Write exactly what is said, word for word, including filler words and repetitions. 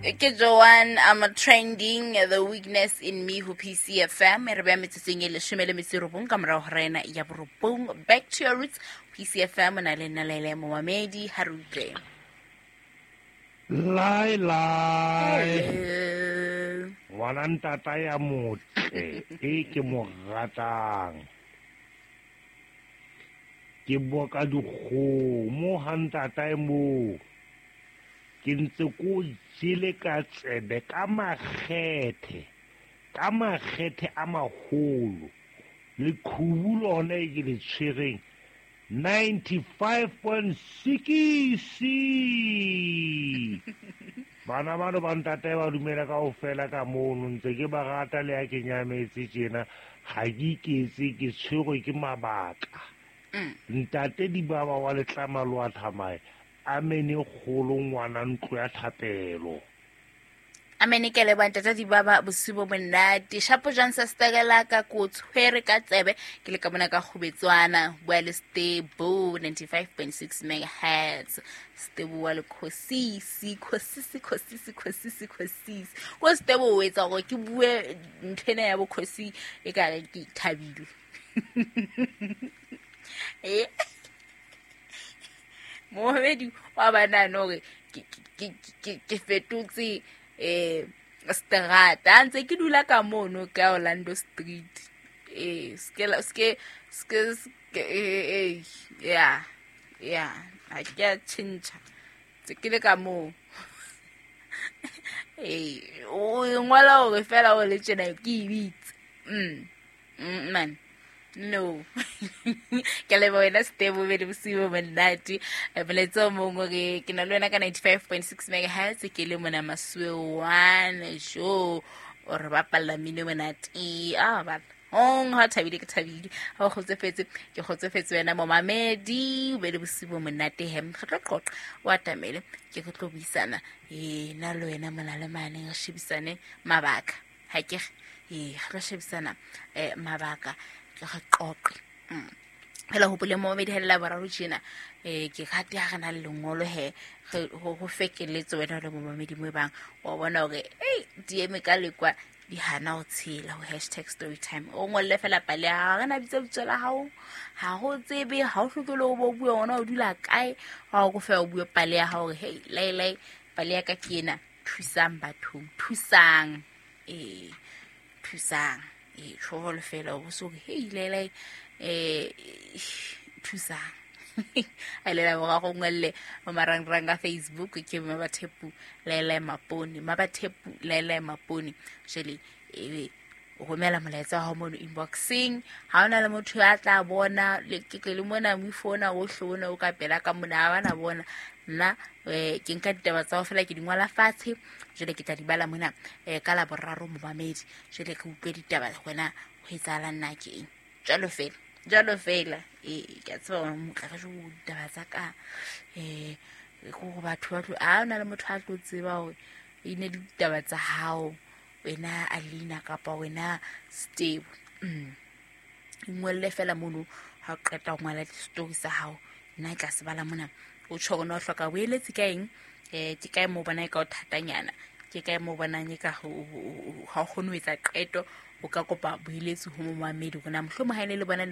Ke Joanne, I'm trending the weakness in me ho P C F M. Re beha metsotsong e leshome le metso e robong ka morao ho rena ya borobong. Back to your roots, P C F M na le nna Laila Momamedi ha re utlwe. Lai lai. Ngwana ntata ya motle e ke mo ratang. Ke boka dikgomo ha ntata e mo. Ke ntse ko jele ka tsebe ka makgethe, ka makgethe a maholo. Leqhubu lona e ke le tshwereng ninety-five point six. Bana bano ba ntate ba dumela kaofela ka mono, ntse ke ba rata le ya ke nyametse tjena, ha ke iketse ke tshwerwe ke mabaka. Ntate di baba wa letlama lo a thamaye. Amene kgolo ngwana ntlo ya thapelo. Amene ke le bantata di baba bosiu bo monate. Shapo Johnson stegela ka ko tshwere ka tsebe ke le ka bona ka kgobetswana bua le Stebo ninety-five point six megahertz. Stebo wa le khosisi khosisi khosisi khosisi khosisi. Ko Stebo o etsa gore ke bue nthena ya bo khosi e ka re ke thabile. Eh Mohamedi wa bana no re ke ke ke ke fetotse eh strata ntse ke dula ka mono ka Orlando Street eh ske ske ske eh ya ya a ke a tjhentjha tse ke le ka mo eh o ngwala hore fela o le tjena ke ibitse mm man no ke le wena Stebo be le bosiu bo monate molaetsa o mongwe re ke na le wena ka ninety-five point six megahertz ke le mona Masuwe one jo o re bapalla mmino monate a ba ong ha thabile ke thabile ha o kgotsofetse ke kgotsofetse wena momamedi be le bosiu bo monate hem re tlo qoqa o atamele ke re tlo buisana eh na le wena mona le mane re shebisane mabaka ha ke eh re tlo shebisana eh mabaka re qoqe phela hopole mo me dihela boraro tjena eh ke rate ha re na le lengolo he ho fekeletse wena le momamedi mo bang wa bona hore ei D M ka lekwa di hana ho tshela ho hashtag story time o ngolle fela pale ha re na bitsa bitso la hao ha ho tsebe ha o hloke le o bo bua ona o dula kae ha o go fa o bue pale ya hao hore hey lai lai pale ya ka ke ena thusang batho thusang eh thusang e tsholo fela o so hey lele eh thusang a lela go go ngwelle mo marangrang a Facebook ke Mabathepu Lele Mapone Mabathepu Lele Mapone jele e o romela molaetsa wa hao mono inboxing ha ona le motho ya tla bona le ke le mona mo phone o hlona o ka pela ka mona ha bana bona nna ke nka ditaba tsa ho fela ke di ngwala fatshe jele ke tla di bala mona ka la boraro momamedi jele ke utlwe ditaba gona ho etsahala nna ke eng jalo fela jalo fela e ke tseba motla ka jo ditaba tsa ka eh go batho ba tlo a ona le motho a tlo tseba hore e ne ditaba tsa hao wena Alina kapa wena Steve mm ngwelle fela mono ha o qeta ho ngwala di-story tsa hao nna ke tla se bala mona o tjho hore na o hloka boeletsi ka eng eh ke kae mo bona e ka o thatanyana ke kae mo bonang e ka ha o kgone ho etsa qeto o ka kopa boeletsi ho momamedi hore na mohlomong ha ene le bona